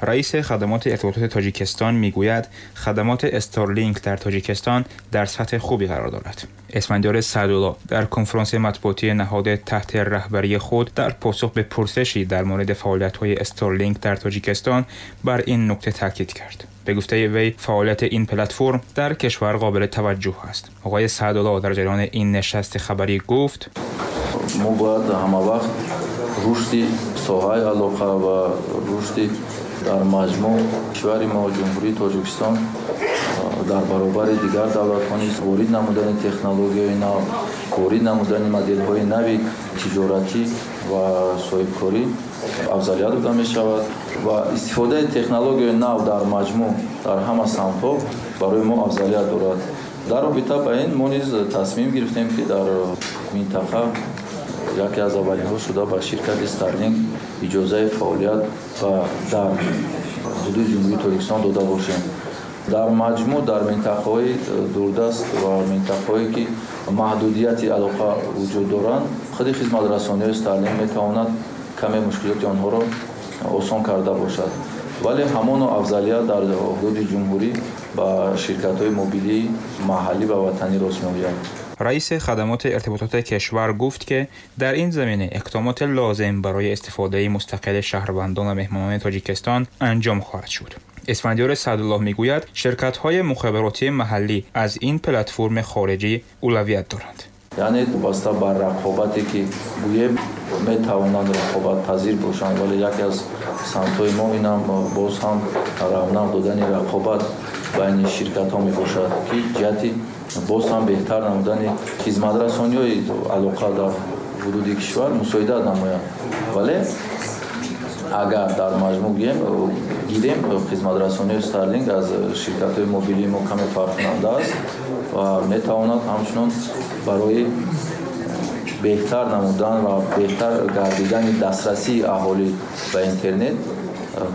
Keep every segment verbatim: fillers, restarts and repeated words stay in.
رئیس خدمات ارتباطات تاجیکستان میگوید خدمات استارلینک در تاجیکستان در سطح خوبی قرار دارد. اسفندیار سعدالله در کنفرانس مطبوعاتی نهاد تحت رهبری خود در پاسخ به پرسشی در مورد فعالیت‌های استارلینک در تاجیکستان بر این نکته تاکید کرد. به گفته وی فعالیت این پلتفرم در کشور قابل توجه است. آقای سعدالله در جریان این نشست خبری گفت: ما باید همه وقت رشد соҳаи алоқа ва рушди дар маҷмӯъ кишвари мо, Ҷумҳурии Тоҷикистон, дар баробари дигар давлатҳо низ ворид намудани технологияи нав, ворид намудани моделҳои нави тиҷоратӣ ва соҳибкорӣ афзалият дода мешавад ва истифодаи технологияи нав дар маҷмӯъ дар ҳама самтҳо барои мо афзалият дорад. Дар робита ба ин мо низ тасмим гирифтем, ки дар минтақа яке аз аввалинҳо шуда ба ширкати Старлинк иҷозаи фаъолият ва дар ҳудуди Ҷумҳурии Тоҷикистон дода бошем. Дар маҷмӯъ дар минтақаҳои дурдаст ва минтақаҳое ки маҳдудияти алоқа вуҷуд доранд, худи хизматрасониҳои Старлинк метавонад каме мушкилоти онҳоро осон карда бошад. Вале ҳамоно афзалият дар ҳудуди ҷумҳурӣ ба ширкатҳои мобилии маҳаллӣ ва ватанӣ рост меояд. رئیس خدمات ارتباطات کشور گفت که در این زمینه اقدامات لازم برای استفاده مستقل شهروندان و مهمانان تاجیکستان انجام خواهد شد. اسفندیار سعدالله میگوید شرکت‌های مخابراتی محلی از این پلتفرم خارجی اولویت دارند. یعنی واسطه بر رقابتی که گویم میتوانند رقابت پذیر باشند، ولی یکی از سمت‌های ما اینم باز هم رونق دادن رقابت بین شرکت‌ها میباشد که جهت боз ҳам беҳтар намудани хизматрасониҳои алоқа дар ҳудуди кишвар мусоидат намояд. Вале агар дар маҷмӯъ гӯем, гирем, хизматрасониҳои Старлинк аз ширкатҳои мобилии мо каме фарқкунанда аст ва метавонад ҳамчунон барои беҳтар намудан ва беҳтар гардидани дастрасии аҳолӣ ба интернет,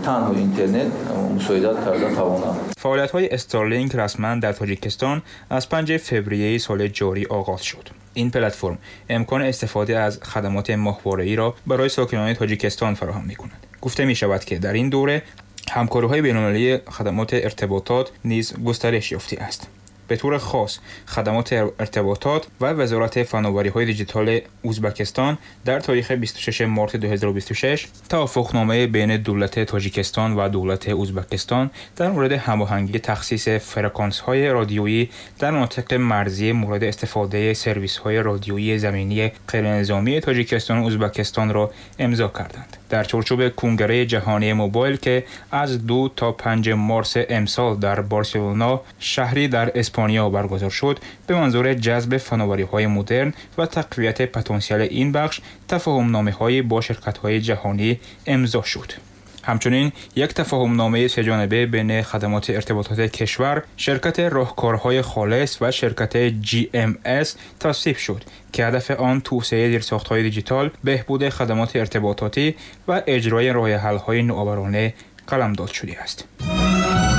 танҳо интернет, мусоидат карда тавонад. فعالیت‌های استارلینک رسما در تاجیکستان از پنجم فوریه سال جاری آغاز شد. این پلتفرم امکان استفاده از خدمات ماهواره‌ای را برای ساکنان تاجیکستان فراهم می‌کند. گفته می‌شود که در این دوره همکاری‌های بین‌المللی خدمات ارتباطات نیز گسترش یافته است. به طور خاص خدمات ارتباطات و وزارت فناوری‌های دیجیتال ازبکستان در تاریخ بیست و ششم مارس دو هزار و بیست و شش توافقنامه بین دولت تاجیکستان و دولت ازبکستان در مورد هماهنگی تخصیص فرکانس‌های رادیویی در مناطق مرزی مورد استفاده سرویس‌های رادیویی زمینی غیرنظامی تاجیکستان و ازبکستان را امضا کردند. در چارچوب کنگره جهانی موبایل که از دو تا پنج مارس امسال در بارسلونا، شهری در اسپانیا برگزار شد، به منظور جذب فناوری‌های مدرن و تقویت پتانسیل این بخش تفاهم‌نامه‌های با شرکت‌های جهانی امضا شد. همچنین یک تفاهم‌نامه سه‌جانبه بین خدمات ارتباطات کشور، شرکت راهکارهای خالص و شرکت جی ام اس تصویب شد که هدف آن توسعه زیرساخت‌های دیجیتال، بهبود خدمات ارتباطاتی و اجرای راه حل‌های نوآورانه قلمداد شده است.